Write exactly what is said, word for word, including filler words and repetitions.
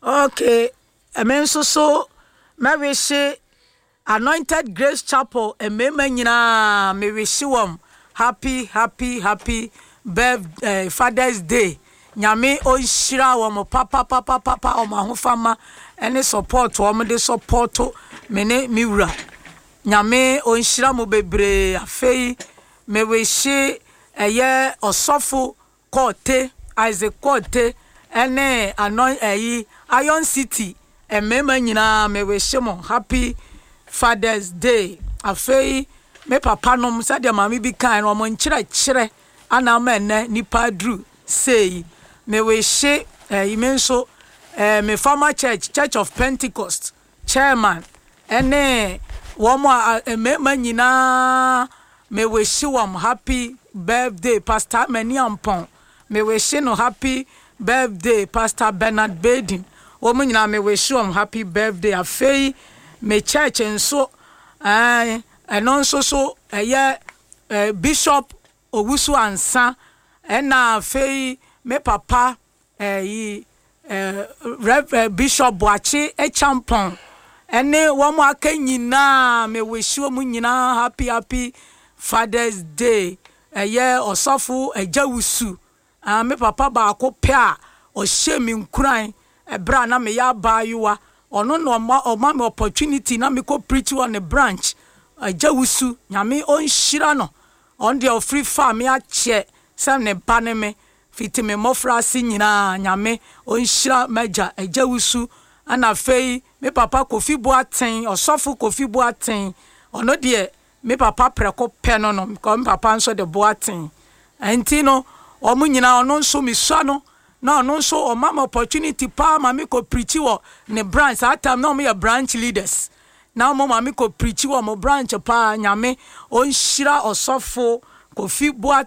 Okay, ɛme nso so mɛwihye Anointed Grace Chapel mmarima nyinaa, mewihye wɔn happy, happy, happy birth eh, Father's Day. Nyame ɔnhyira wɔn papapapapa, wɔn ahofama ne support wɔn de support me ne me wura. Nyame ɔnhyira mo bebree. Afei mewihye ɛyɛ ɔsɔfo Korte, Isaac Korte ne Anoi ɛyi Iron City mmarima nyinaa, me wihye mo happy Father's Day. Afei me papa nom, sɛdeɛ maame bi kae no, wɔn nkyerɛkyerɛ ana ama ɛnɛ nipa aduru sei. Me wihye ɛyi me nso ɛɛ me former church, Church of Pentecost chairman ɛne wɔn a mmarima nyinaa, me wihye wɔn happy birthday. Pastor Mani Ampɔn, me wihye no happy birthday. Pastor Bernard Baden, wɔn nyinaa me wihye wɔn happy birthday. Afei me church nso, ɛɛ ɛno nso so ɛyɛ ɛɛ Bishop Owusu Ansa, ɛna afei me papa ɛyi ɛɛ Rev Bishop Boakye Echampɔn ɛne wɔn aka nyinaa, me wihye wɔn nyinaa happy, happy Father's Day. Ɛyɛ ɔsɔfo Agya Wusu, ah, me papa baako pɛ a ɔhyɛ me nkuran ɛberɛ a na meyɛ abaayewa. Ɔno na ɔma ɔma me opportunity na mekɔ preach wɔ ne branch. Agya Wusu, Nyame ɔnhyira no. Ɔno deɛ ɔfiri fa me akyɛ sɛ ne ba ne me fiti me mmɔfra ase nyinaa. Nyame ɔnhyira m'agya Agya Wusu. Ɛna afei me papa Kofi Boaten, ɔsɔfo Kofi Boaten, ɔno deɛ me papa prɛko pɛ no no because me papa nso de Boaten nti no wɔn nyinaa, ɔno nso mesua no na ɔno nso ɔma me opportunity paa ma me kɔ preach wɔ ne branch. Saa time na wɔn yɛ branch leaders na wɔn ma me kɔ preach wɔ mo branch paa. Nyame ɔnhyira ɔsɔfo Kofi Boaten.